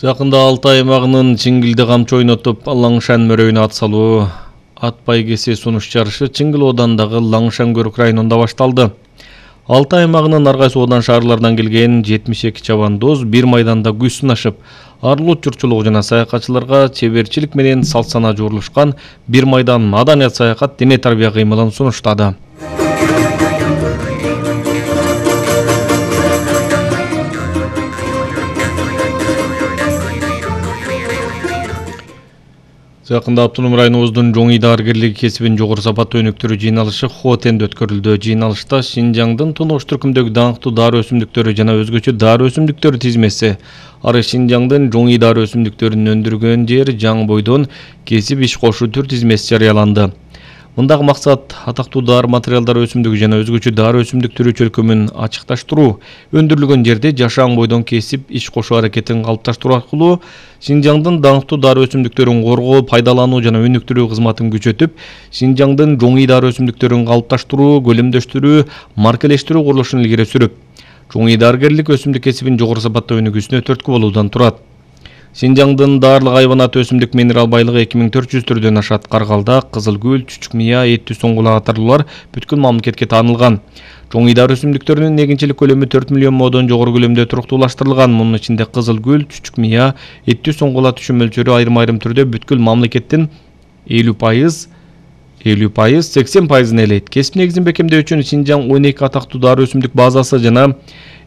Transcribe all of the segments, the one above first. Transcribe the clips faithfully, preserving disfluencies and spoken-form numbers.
Жакында Алтай аймагынын Чиңгилде камчы ойнотуп Лаңшан мөрөйүнө ат салуу ат байгеси сунуш жарышы Чиңгил оодандагы Лаңшан көрүк районунда башталды. Алтай аймагынын ар кайсы оодан шаарлардан келген жетимиш эки чабандоз бир майданда күч сынашып, арылуу журтчулугу жана саякатчыларга чеберчилик менен салт-сана жуурулушкан бир майдан маданият саякат дене тарбия кыймылын сунуштады. Жакында Автоном районубуздун жоң идааргерлиги кесибин жогору сапаттуу өнүктүрүү жыйналышы Хотенде өткөрүлдү. Жыйналышта Шинжаңдын тунуш түркүмдөгү даңктуу дары өсүмдүктөрү жана өзгөчө дары өсүмдүктөрү тизмеси, ары Шинжаңдын жоң идары өсүмдүктөрүн өндүргөн жер Жаң бойдон кесип иш кошуу түр тизмеси жарыяланды. Мындагы максат атактуу дары материалдары өсүмдүгү жана өзгөчө дары өсүмдүктөрү чөлкөмүн ачыкташтыруу, өндүрүлгөн жерде жашаң бойдон кесип иш кошуу аракетин калыпташтыруу аркылуу Шинжаңдын даңктуу дары өсүмдүктөрүн коргоо, пайдалануу жана өнүктүрүү кызматын күчөтүп, Шинжаңдын жоң идары өсүмдүктөрүн калыпташтыруу, көлөмдөштүрүү, маркалештирүү курулушун илгери сүрүп, жоң идааргерлик өсүмдүк кесибин жогору сапаттуу өнүгүүсүнө түрткү болуудан турат. Шинжаңдын дарлык хайванат өсүмдүк минерал байлыгы эки миң төрт жүз түрдөн ашат. Каргалда, Кызыл гүл, чүчүк мыя, эттүү соңгула катарлуулар бүткүл мамлекетке таанылган. Жоң идары өсүмдүктөрүнүн эгинчилик көлөмү төрт миллион модон жогору көлөмдө туруктуулаштырылган. Мунун ичинде кызыл гүл, чүчүк мыя, эттүү соңгула түшүм мөлчөрү айрым-айрым түрдө бүткүл мамлекеттин элүү пайыз, элүү пайыз, сексен пайызын ээлейт. Кесип негизин бекемдөө үчүн Шинжаң он эки атактуу дары өсүмдүк базасы жана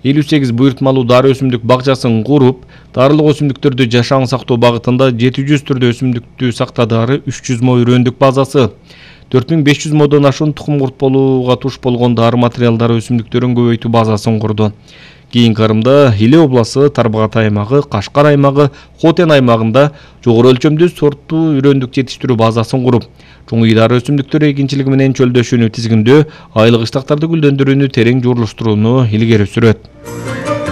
элүү сегиз буйртмалуу дары өсүмдүк бакчасын куруп, дарылык өсүмдүктөрдү жашаң сактоо багытында жети жүз түрдө өсүмдүктү сактады, ары үч жүз мо үрөндүк базасы, төрт миң беш жүз модон ашуун тукум курт болууга туш болгон дары материалдары өсүмдүктөрүн көбөйтүү базасын курду. Кийинки кырымда Иле областы, Тарбагат аймагы, Кашкар аймагы, Хотен аймагында жогору өлчөмдүү сорттуу үрөндүк жетиштирүү базасын куруп, жоң идары өсүмдүктөр эгинчилиги менен чөлдөшүүнү тизгиндөө, айлык ыштактарды гүлдөндүрүүнү терең жуурулуштурууну илгери сүрөт.